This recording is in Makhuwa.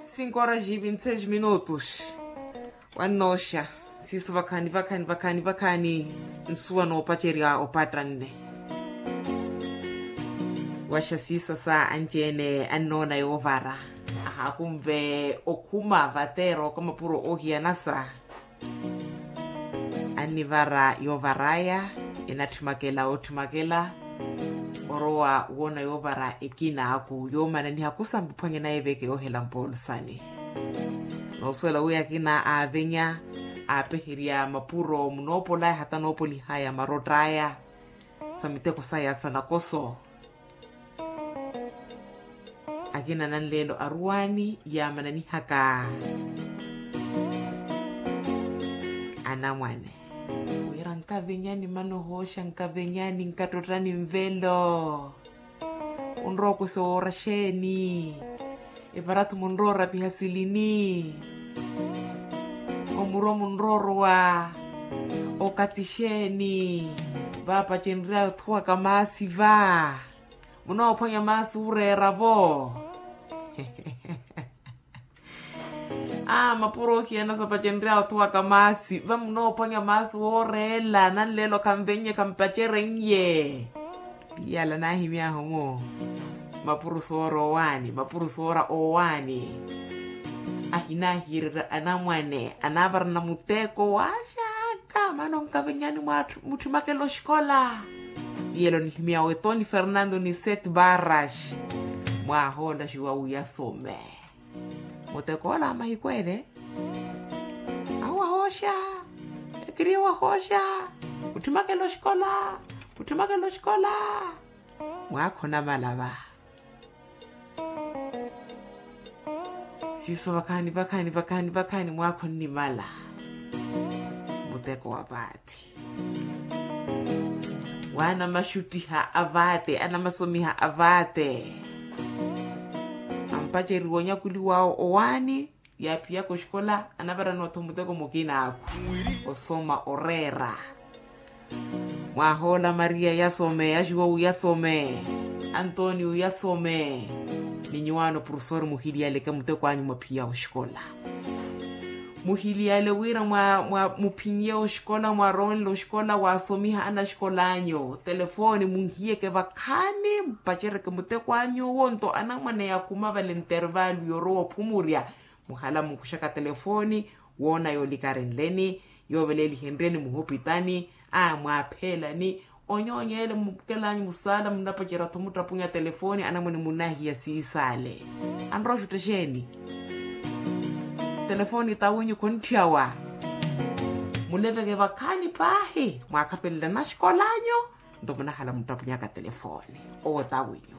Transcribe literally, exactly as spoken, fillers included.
Cinco horas e vinte e seis minutos. Wannooxa siiso vakhaani vakhaani vakhaani vakhaani. Nsuwa noopacerya opattanne. Waxa siiso sa anci-ene annoona yoovara, ahakunve okhuma vateera oka mapuro oohiyanasa. Annivara yoovar'aya, enatthimakela otthimakela. Orowa woona yoovara ekina aku yoomananiha kusambi phwanya naye veke yoohela mpoolusani. Noosuwela wi akina aavenya, aapeherya mapuro munoopol'aya hata noopolih'aya marott'aya. Sa miteko saya sa nakoso. Akina nanleelo aruwaani yaamananihaka anamwane. Wira nkavenyani mana ohooxa nkavenyani nkattottani nvelo. Munrowa okosa owoora xeeni? Evaratu munrowa orapiha silini? Omurwa munrowa orowa okati xeeni? Vaapacenry'aya othuwaka maasi va. Munoophwanya maasi ooreera-vo. Aa mapuro oohiyanasa opacenry'aya othuwaka maasi va munoophwanya maasi wooreela nanleelo khanvennye khampaceren'ye. Iyala naahimy'ahu-mu. Mapuro soora owaani mapuro soora owaani. Ahinaahiyererya anamwane anaavarana muteko waaxaka mana onkavenyani mutthi makela oxikola. Iyala onihimy'awe toni fernando ni sete barras. Mwaahoola xiwa wiyasome. Mutekoola a mahiku ele. Awo wahooxa. Ekiriye wahooxa. Kutthimakela oxikola. Kutthimakela oxikola. Mwaakha onamala va. Siiso vakhaani vakhaani vakhaani vakhaani mwaakha onnimala. Muteko wa vaati. Waanamaxuttiha avaate anamasomiha avaate. Ampaceriwa onyakuli wawo owaani. Yaaphiyaka oxikola anavaraniwa-tho muteko mukina akhu. Osoma oreera. Mwaahoola maria yasome axiwa wiyasome. Antonio yasome. Ni nyuwaano profesori muhiliyaleke muteko anyu mwaphiya oxikola. Muhiliyale wira mwa muphinye oxikola mwaronle oxikola waasomiha anaxikola anyu telefoni munhiyeke vakhaani mpacereke muteko anyu owo nto anamwane yakhuma vale ntervalu yorowa ophumurya. Muhala munkuxaka telefoni woona yoolikari nleni yooveleelihenryeni muhupitani. Aa mwaapheelani onyoonyeele mukelanyu musaala munapacerya-tho muttapunya telefoni anamwane munnahiya siisale. Anrowa oxutta xeeni? Telefoni tawinyu khontthiyawa. Muleveke vakhaani paahi mwaakhapelela naxikolanyu. Nto munahala muttapunyaka telefoni owo tawinyu.